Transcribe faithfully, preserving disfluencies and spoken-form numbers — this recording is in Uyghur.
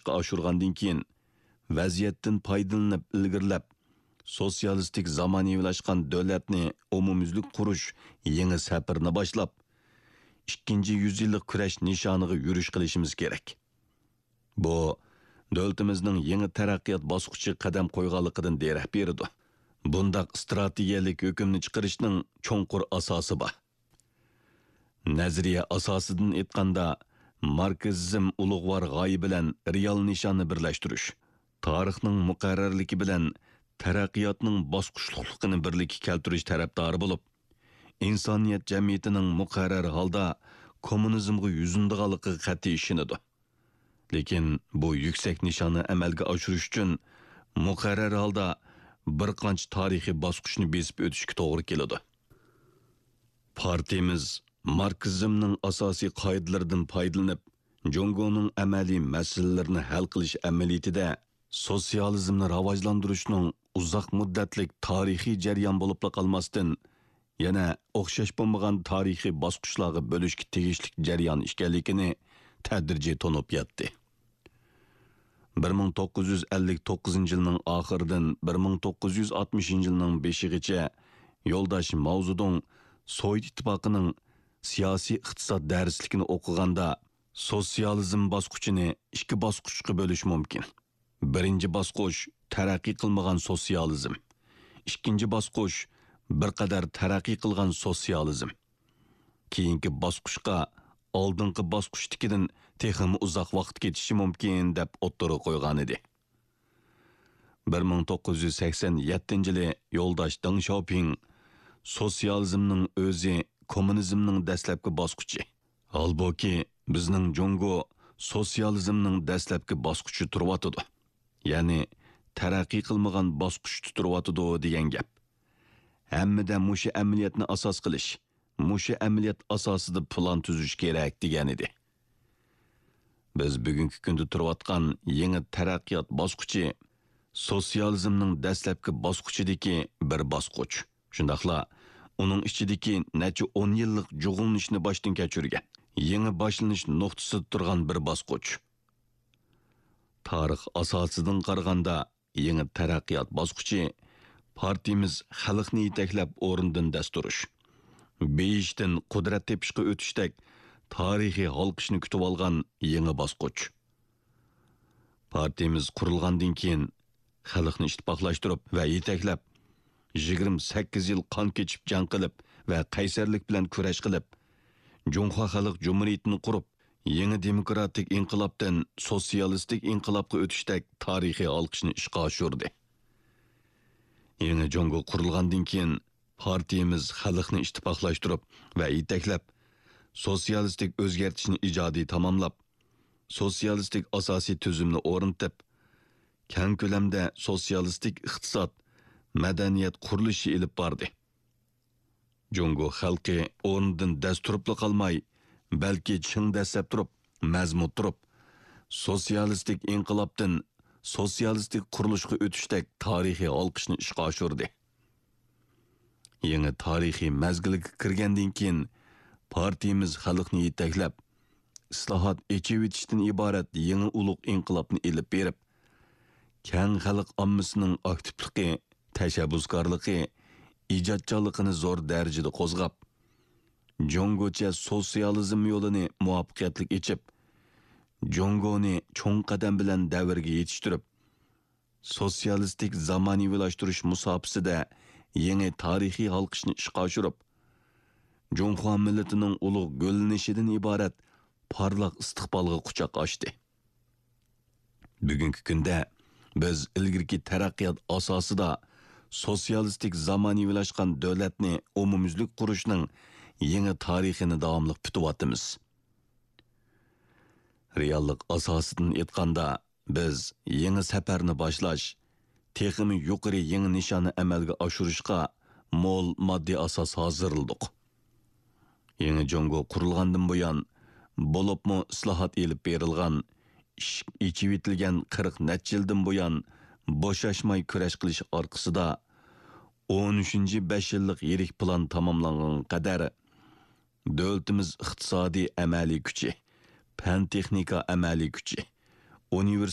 ئىشقا ئاشۇرغاندىن كېيىن، ۋەزىيەتتىن پايدىلىنىپ ئىلگىرىلەپ، سوتسىيالىستىك زامانىۋىلاشقان دۆلەتنى ئومۇميۈزلۈك قۇرۇش يېڭى سەپىرىنى باشلاپ، ئىككىنچى يۈزيىللىق كۈرەش نىشانىغا يۈرۈش قىلىشىمىز كېرەك. بۇ، دۆلىتىمىزنىڭ يېڭى تەرەققىيات باسقۇچىغا قەدەم قويغانلىقىدىن دېرەك بېرىدۇ. بۇنداق ئىستراتېگىيەلىك ھۆكۈمنى چىقىرىشنىڭ چوڭقۇر ئاساسى بار. نەزەرىيە ئاساسىدىن ئېيتقاندا، ماركسىزم ئۇلۇغۋار غايە بىلەن رېئال نىشاننى بىرلەشتۈرۈش، تارىخنىڭ مۇقەررەرلىكى بىلەن تەرەققىياتنىڭ باسقۇچلۇقلۇقىنى بىرلىككە كەلتۈرۈش تەرەپدارى بولۇپ، ئىنسانىيەت جەمئىيىتىنىڭ مۇقەررەر ھالدا كوممۇنىزمغا يۈزلىنىدىغانلىقىغا قەتئىي ئىشىنىدۇ. لېكىن بۇ يۈكسەك نىشاننى ئەمەلگە ئاشۇرۇش ئۈچۈن مۇقەررەر ھالدا بىر قانچە تارىخىي باسقۇچنى بېسىپ ئۆتۈشكە توغرا كېلىدۇ. پارتىيىمىز ماركسىزمنىڭ ئاساسىي قائىدىلىرىدىن پايدىلىنىپ، جۇڭگونىڭ ئەمەلىي مەسىلىلىرىنى ھەل قىلىش ئەمەلىيىتىدە سوتسىيالىزمنى راۋاجلاندۇرۇشنىڭ ئۇزاق مۇددەتلىك تارىخىي جەريان بولۇپلا قالماستىن، يەنە ئوخشاش بولمىغان تارىخىي باسقۇچلارغا بۆلۈشكە تېگىشلىك جەريان ئىكەنلىكىنى تەدرىجىي تونۇپ يەتتى. بىر مىڭ توققۇز يۈز ئەللىك توققۇزىنچى يىلنىڭ ئاخىرىدىن بىر مىڭ توققۇز يۈز ئاتمىشىنچى يىلنىڭ بېشىغىچە يولداش ماۋزېدۇڭ سوۋېت ئىتتىپاقىنىڭ سىياسىي ئىقتىساد دەرسلىكىنى ئوقۇغاندا، سوتسىيالىزم باسقۇچىنى ئىككى باسقۇچقا بۆلۈش مۇمكىن. بىرىنچى باسقۇچ تەرەققىي قىلمىغان سوتسىيالىزم. ئىككىنچى باسقۇچ بىر قەدەر تەرەققىي قىلغان سوتسىيالىزم. كېيىنكى باسقۇچقا ئالدىنقى باسقۇچتىكىدىن تېخىمۇ ئۇزاق ۋاقىت كېتىشى مۇمكىن، دەپ ئوتتۇرىغا قويغانىدى. بىر مىڭ توققۇز يۈز سەكسەن يەتتىنچى يىلى يولداش دېڭ شياۋپىڭ، سوتسىيالىزمنىڭ ئۆزى كوممۇنىزمنىڭ دەسلەپكى باسقۇچى. ھالبۇكى، بىزنىڭ جۇڭگو سوتسىيالىزمنىڭ دەسلەپكى باسقۇچى تۇرۇۋاتىدۇ. يەنى، تەرەققىي قىلمىغان باسقۇچتا تۇرۇۋاتىدۇ دېگەن گەپ. ھەممىدە مۇشۇ ئەمەلىيەتنى ئاساس قىلىش، مۇشۇ ئەمەلىيەت ئاساسىدا پىلان تۈزۈش كېرەك، دېگەنىدى. بىز بۈگۈنكى كۈندە تۇرۇۋاتقان يېڭى تەرەققىيات باسقۇچى سوتسىيالىزمنىڭ دەسلەپكى باسقۇچىدىكى بىر باسقۇچ. شۇنداقلا ئۇنىڭ ئىچىدىكى نەچچە ئون يىللىق جۇغلىنىشنى باشتىن كەچۈرگەن، يېڭى باشلىنىش نۇقتىسىدا تۇرغان بىر باسقۇچ. تارىخ ئاساسىدىن قارىغاندا، يېڭى تەرەققىيات باسقۇچى پارتىيىمىز خەلقنى يېتەكلەپ ئورنىدىن دەس تۇرۇش، بېيىشتىن قۇدرەت تېپىشقا ئۆتۈشتەك تارىخىي ھالقىشنى كۈتۈۋالغان يېڭى باسقۇچ. پارتىيىمىز قۇرۇلغاندىن كېيىن، خەلقنى ئىتتىپاقلاشتۇرۇپ ۋە يېتەكلەپ، يىگىرمە سەككىز يىل قان كېچىپ جەڭ قىلىپ ۋە قەيسەرلىك بىلەن كۈرەش قىلىپ، جۇڭخۇا خەلق جۇمھۇرىيىتىنى قۇرۇپ، يېڭى دېموكراتىك ئىنقىلابتىن سوتسىيالىستىك ئىنقىلابقا ئۆتۈشتەك تارىخىي ھالقىشنى ئىشقا ئاشۇردى. يېڭى جۇڭگو قۇرۇلغاندىن كېيىن، پارتىيىمىز خەلقنى ئىتتىپاقلاشتۇرۇپ ۋە يېتەكلەپ، سوتسىيالىستىك ئۆزگەرتىشنى ئىجادىي تاماملاپ، سوتسىيالىستىك ئاساسىي تۈزۈمنى ئورنىتىپ، كەڭ كۆلەمدە سوتسىيالىستىك ئىقتىساد، مەدەنىيەت قۇرۇلۇشى ئېلىپ باردى. جۇڭگو خەلقى ئورنىدىن دەس تۇرۇپلا قالماي، بەلكى چىڭ دەسسەپ تۇرۇپ، مەزمۇت تۇرۇپ، سوتسىيالىستىك ئىنقىلابتىن سوتسىيالىستىك قۇرۇلۇشقا ئۆتۈشتەك تارىخىي ھالقىشنى ئىشقا ئاشۇردى. يېڭى تارىخىي مەزگىلگە كىرگەندىن كېيىن، پارتىيىمىز خەلقنى يېتەكلەپ، ئىسلاھات، ئېچىۋېتىشتىن ئىبارەت يېڭى ئۇلۇغ ئىنقىلابنى ئېلىپ بېرىپ، كەڭ خەلق ئاممىسىنىڭ ئاكتىپلىقى، تەشەببۇسكارلىقى، ئىجادچانلىقىنى زور دەرىجىدە قوزغاپ، جۇڭگوچە سوتسىيالىزم يولىنى مۇۋەپپەقىيەتلىك ئېچىپ، جۇڭگونى چوڭ قەدەم بىلەن دەۋرگە يېتىشتۈرۈپ، سوتسىيالىستىك زامانىۋىلاشتۇرۇش مۇساپىسىدە يېڭى تارىخىي ھالقىشنى ئىشقا ئاشۇرۇپ، جۇڭخۇا مىللىتىنىڭ ئۇلۇغ گۈللىنىشىدىن ئىبارەت پارلاق ئىستىقبالغا قۇچاق ئاچتى. بۈگۈنكى كۈندە بىز ئىلگىرىكى تەرەققىيات ئاساسىدا سوتسىيالىستىك زامانىۋىلاشقان دۆلەتنى ئومۇميۈزلۈك قۇرۇشنىڭ يېڭى تارىخىنى داۋاملىق پۈتۈۋاتىمىز. رېئاللىق ئاساسىدىن ئېيتقاندا، بىز يېڭى سەپەرنى باشلاش، تېخىمۇ يۇقىرى يېڭى نىشاننى ئەمەلگە ئاشۇرۇشقا مول ماددىي ئاساس ھازىرلىدۇق. يېڭى جۇڭگو قۇرۇلغاندىن بۇيان، بولۇپمۇ ئىسلاھات ئېلىپ بېرىلغان، ئىشىك ئېچىۋېتىلگەن قىرىق نەچچە يىلدىن بۇيان بوشاشماي كۈرەش قىلىش ئارقىسىدا، ئون ئۈچىنچى بەش يىللىق يىرىك پىلان تاماملانغانغا قەدەر، دۆلىتىمىز ئىقتىسادىي ئەمەلىي كۈچى، پەن-تېخنىكا ئەمەلىي كۈچى، ئۇنىۋېرسىتېت